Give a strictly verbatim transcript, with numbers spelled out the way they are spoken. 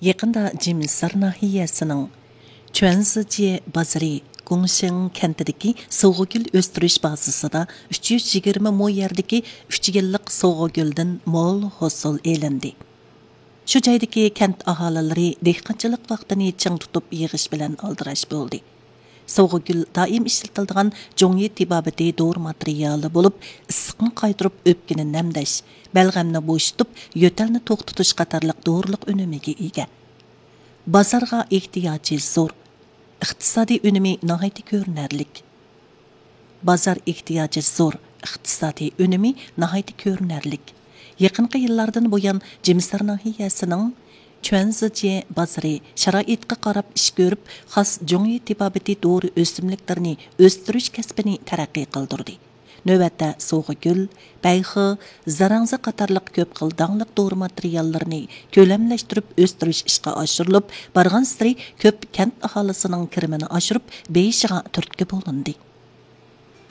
يېقىندا جىمىسار ناھىيەسىنىڭ چۈەنزىجيې بازىرى گۇڭشېڭ كەنتىدىكى سوغۇگۈل ئۆستۈرۈش بازىسىدا ئۈچ يۈز يىگىرمە مو يەردىكى ئۈچ يىللىق سوغۇگۈلدىن مول ھوسۇل ئېلىندى. شۇ جايدىكى كەنت ئاھالىلىرى دېھقانچىلىق ۋاقتىنى چىڭ تۇتۇپ يىغىش بىلەن ئالدىراش بولدى. سوغۇگۈل دائىم ئىشلىتىلىدىغان جۇڭيى تېبابىتى دورا ماتېرىيالى بولۇپ، ئىسسىقنى قايتۇرۇپ، ئۆپكىنى نەمدەش، بەلغەمنى بوشىتىپ، يۆتەلنى توختىتىش قاتارلىق دورىلىق ئۈنۈمىگە ئىگە. بازارغا ئېھتىياجى زور، ئىقتىسادىي ئۈنۈمى ناھايىتى كۆرۈنەرلىك. بازار ئېھتىياجى زور، ئىقتىسادىي ئۈنۈمى ناھايىتى كۆرۈنەرلىك. يېقىنقى يىللاردىن بۇيان، جىمىسار ناھىيەسىنىڭ چۈەنزىجيې بازىرى شارائىتقا قاراپ ئىش كۆرۈپ، خاس جۇڭيى تېبابىتى دورا ئۆسۈملۈكلىرىنى ئۆستۈرۈش كەسپىنى تەرەققىي قىلدۇردى. نۆۋەتتە سوغۇگۈل، بەيخې، زاراڭزا قاتارلىق كۆپ خىل داڭلىق دورا ماتېرىياللىرىنى كۆلەملەشتۈرۈپ ئۆستۈرۈش ئىشقا ئاشۇرۇلۇپ، بارغانسېرى كۆپ كەنت ئاھالىسىنىڭ كىرىمىنى ئاشۇرۇپ، بېيىشىغا تۈرتكە بولۇندى.